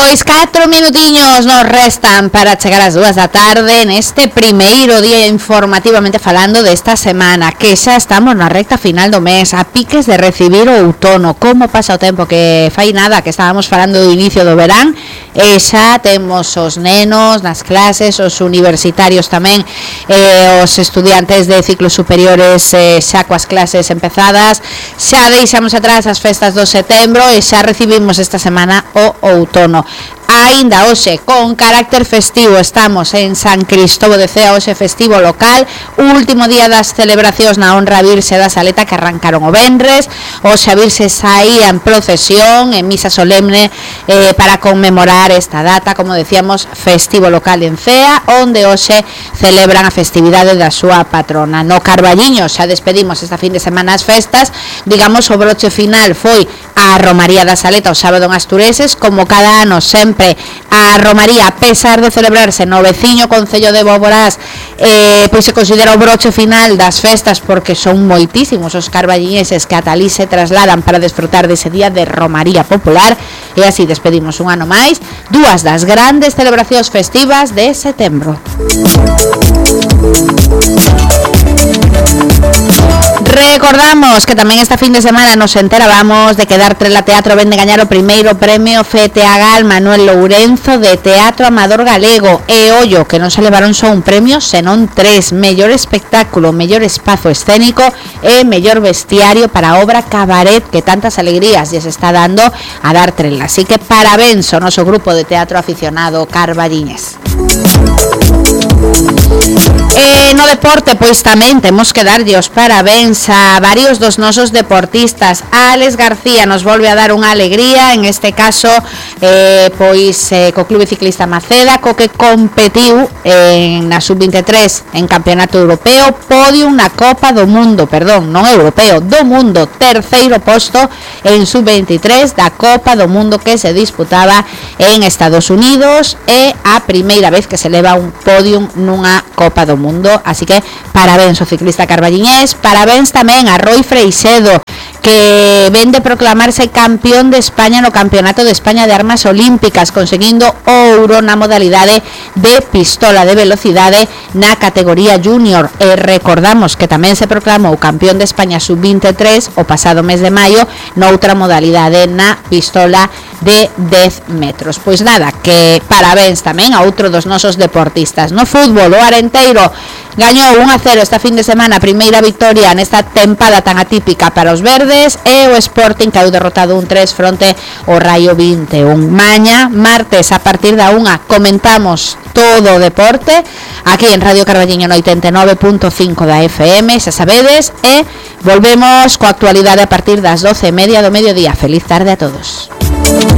Pois 4 minutiños nos restan para chegar ás 2 da tarde neste primeiro día informativamente falando desta semana, que xa estamos na recta final do mes, a piques de recibir o outono. Como pasa o tempo, que fai nada, que estábamos falando do inicio do verán, e xa temos os nenos nas clases, os universitarios tamén, os estudiantes de ciclos superiores xa coas clases empezadas, xa deixamos atrás as festas do setembro e xa recibimos esta semana o outono. Ainda hoxe con carácter festivo estamos en San Cristóbal de Cea, hoxe festivo local, último día das celebracións na honra a Virxe da Saleta que arrancaron o venres. Hoxe a Virxe saía en procesión, en misa solemne para conmemorar esta data, como decíamos, festivo local en Cea, onde hoxe celebran a festividade da súa patrona. No Carballiño xa despedimos esta fin de semana as festas, digamos o broche final foi a Romaría da Saleta o sábado en Astureses, como cada ano sempre a Romaría, a pesar de celebrarse no veciño concello de Boborás, pois se considera o broche final das festas porque son moitísimos os carballiñeses que ata alí se trasladan para desfrutar dese día de Romaría popular, e así despedimos un ano máis dúas das grandes celebracións festivas de setembro. Recordamos que tamén esta fin de semana nos enterábamos de que Dartrela Teatro vende gañar o primeiro premio FETEAGAL Manuel Lourenzo de Teatro Amador Galego, e ollo que non se levaron só un premio, senón 3: mellor espectáculo, mellor espazo escénico e mellor vestiario para a obra Cabaret, que tantas alegrías lles está dando a Dartrela. Así que parabéns ao noso grupo de teatro aficionado carballiñés. No deporte, pois tamén temos que darlle os parabéns a varios dos nosos deportistas. Alex García nos volve a dar unha alegría, en este caso co Clube Ciclista Maceda, co que competiu na Sub-23 en Campeonato Europeo, podium na Copa do Mundo, non europeo, do mundo, terceiro posto en Sub-23 da Copa do Mundo que se disputaba en Estados Unidos, e a primeira vez que se leva un podium nunha Copa do Mundo. Así que parabéns ao ciclista carballiñés, parabéns tamén a Roy Freixedo, que ven de proclamarse campeón de España no Campeonato de España de Armas Olímpicas, conseguindo ouro na modalidade de pistola de velocidade na categoría junior. E recordamos que tamén se proclamou campeón de España sub-23 o pasado mes de maio noutra modalidade, na pistola de 10 metros. Pois nada, que parabéns tamén a outro dos nosos deportistas. No fútbol, o Arenteiro gañou 1-0 esta fin de semana, a primeira victoria nesta tempada tan atípica para os verdes, e o Sporting caeu derrotado 1-3 fronte ao Raio 21. Maña, martes, a partir da 1 comentamos todo o deporte aquí en Radio Carballiño no 89.5 da FM, xa sabedes, e volvemos coa actualidade a partir das 12:30 do mediodía. Feliz tarde a todos.